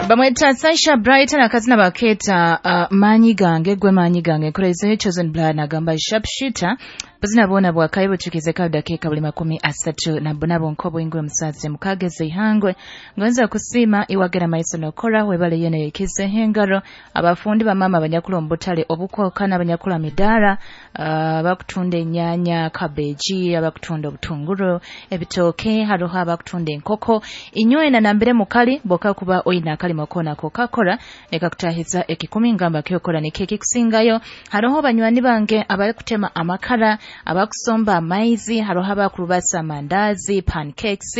Bamweta Sasha Brighton, akazina baketa maanyi gange gwe maanyi gange nkolezeyo Chosen Blood nagamba sharpshooter. Buzina bwona bwakayi butukize dakiika buli 38 nk'obwingwe musaze mukageze ihangwe ngonza kusiima iwagera maiso nokora webale yene yekize hengaro abafundi bamama abanyakula omubutale obukwoka n'abanyakula midara, abakutunda enyanya, kabeji, abakutunda obutunguru, ebitooke, haroho abakutunda enkoko inywena nambere mukali boka kuba oyina akalimo kona kokakora nekakutahiza ekikumi ngamba kyokora nikeki kusingayo. Haroho banywani bange abarikutema amakara, abakusomba amaizi, haroho abakurubasa amandazi, pancakes,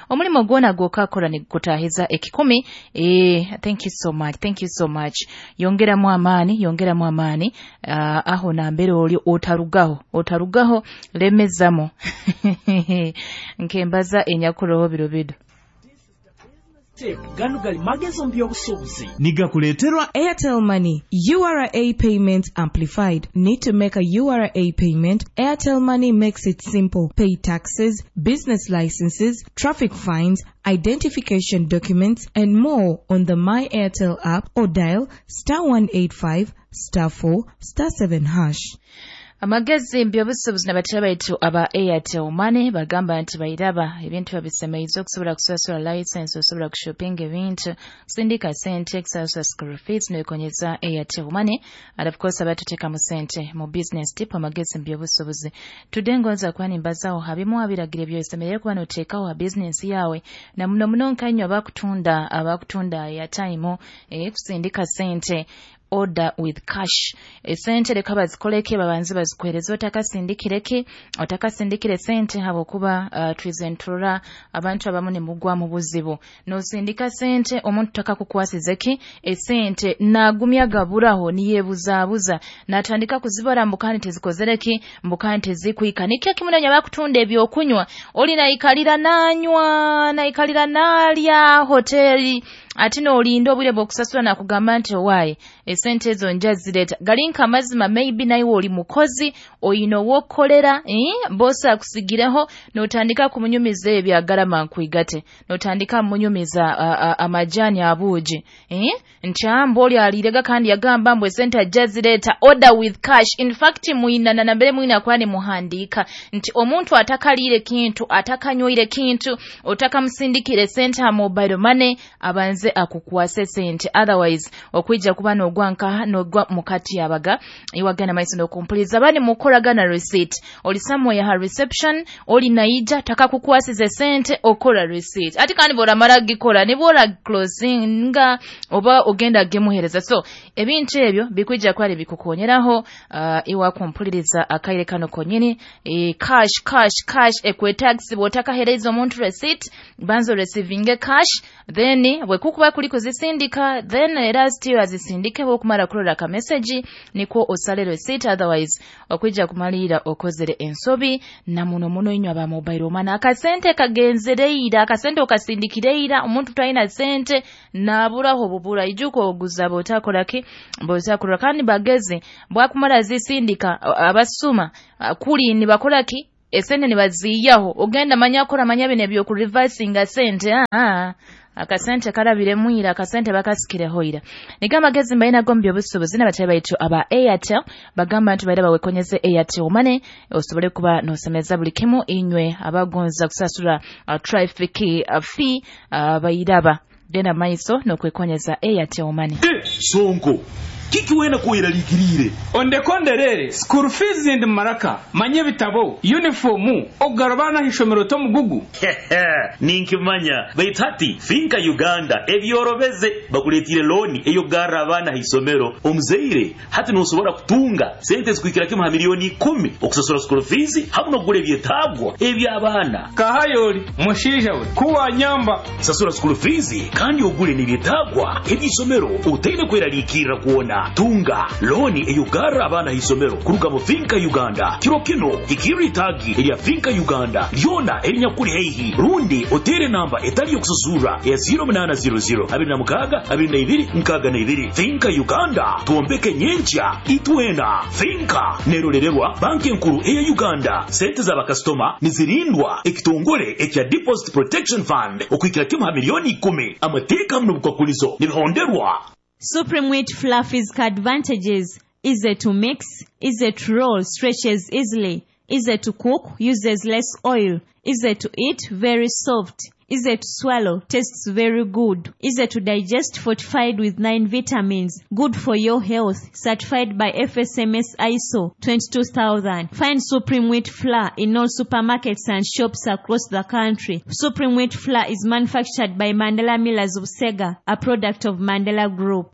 omulimo gwona gwokakora nikutahiza ekikumi. Thank you so much, thank you so much. Yongeramu amaani, yongeramu amaani, aho nambere oli otarugaho, otarugaho, lemezamo nkembaza enyakuroho biro bido. Gano gali magezo by'obusuubuzi. Nigakuleeterwa Airtel Money URA Payment Amplified. Need to make a URA payment? Airtel Money makes it simple. Pay taxes, business licenses, traffic fines, identification documents, and more on the My Airtel app or dial *185 *4 *7#. Amagezi by'obusuubuzi n'abatera baitu aba Airtel Money bagamba nti bairaba ebintu babisemeize okusobola kusasula license, osobola kushopping ebintu, kusindika sente, kusasula school fees n'ekonyeza Airtel Money. And of course abatuteekamu sente mu business tip amagezi by'obusuubuzi. Today ngonza kuba nimbazaho habimu abiragiro ebyosemerere kuba noteekaho ha business yawe na muno muno nkanywa abakutunda airtime, kusindika sente, order with cash. Esente leka bazikoleke babanze bazikwereze otakasindikireke, otakasindikire sente habwokuba twizentura abantu abamu ne mugwa mu buzibu. Nosindika sente omuntu takakukwasizeki esente nagumya gaburaho niyebuzabuza natandika kuzibara mbukani tezikozereki mbukani tezikuika. Nikyo kimunanya bakutunda ebyokunywa oli naikalira nanywa naikalira nalya hoteli ati nolinda obwire bw'okusasula nakugamba nti owaaye esente ezo nja zireeta. Galinka amazima maybe naye oli mukozi oyina ow'okukolera, bosi akusigireho n'otandika kumunyumiza ebyo agalama nkwigate, n'otandika munyumiza amajaani abuugi, nti amba oli aliirega kandi yagamba mbu esente ajja zireeta. Order with cash. In fact mwinana nambere mwina kuba ne muhandiika nti omuntu atakaliire kintu, atakanywaire kintu, otakamusindikire sente ha mobile money abanze akukwase sente, otherwise okwijja kuba n'ogwa nkaha n'ogwa mukati yabaga iwagana maiso n'okumpuliza bani mukoragana receipt. Oli somewhere ha reception oli naija takakukwasize sente okora receipt ati kandi bw'oramara gikora nibwora closinga oba ogenda gemuhereza. So ebintu ebyo bikwijja kwali bikukonyeraho iwa kumpuliriza akaire kano konyini. Cash cash cash ekwetax bw'otakahereza omuntu receipt banzo receiving cash then bwekukuba kuli kuzisindika then era still azisindike bwokumara kulola ka message nikwo osale receipt, otherwise okwijja kumalira okozere ensobi. Na muno muno inywa aba mobile money akasente kagenzereira akasente okasindikireira omuntu talina sente naburaho bubura ijuko oguza botakolaki botakola kandi bageze bwakumara zisindika abasuma kuli nibakolaki esente nibaziyaho ogenda manya kora manya bine byo ku reversinga sente. Akasente karabire mwira akasente bakasikire hoira. Nigamba gezi mbaina gombye obusubuzi n'abatali baitu aba Airtel bagamba nti baira bawekonyeze Airtel Money osobole kuba nosemeza buli kimu inywe abagonza kusasula traffic fee bairaba genda maiso nokwekonyeza Airtel Money. Sonko kiki wena kuiralikirire ondekonderere school fees ndi maraka manye bitabo uniform ogarabana hishomero to mugugu ninkimanya baitati Finka Uganda ebyorobeze bakuletire loni eyo gara abana hisomero omuzeire hati nosobora kutunga sente zikuikira kimu ha milioni 10 okusasura school fees hamwe nokugula ebyetagwa eby'abaana. Kahayoli mushisha we kuwa nyamba sasura school fees kandi ogule n'ebyetagwa eby'isomero utaine kweralikirira kuona tunga loni eyugara abaana hisomero kuruga mu Finka Uganda. Kiro kino ikiri tagi erya Finka Uganda lyona erinyakuri heihi rundi otere namba etali yokusasura ya 0800 26 22 62. Finka Uganda tuombeke nyencha itwena. Finka nerorererwa banki enkuru eya Uganda. Sente z'abakasitoma nizirindwa ekitongole ekya Deposit Protection Fund okuikira kimu ha milioni 10. Amateeka hamu n'obukwakulizo nibihonderwa. Supreme Wheat Flour physical advantages: easy to mix, easy to roll, stretches easily, easy to cook, uses less oil, easy to eat, very soft, easy to swallow, tastes very good, easy to digest, fortified with 9 vitamins, good for your health, certified by FSMS ISO 22000. Find Supreme Wheat Flour in all supermarkets and shops across the country. Supreme Wheat Flour is manufactured by Mandela Millers of Sega, a product of Mandela Group.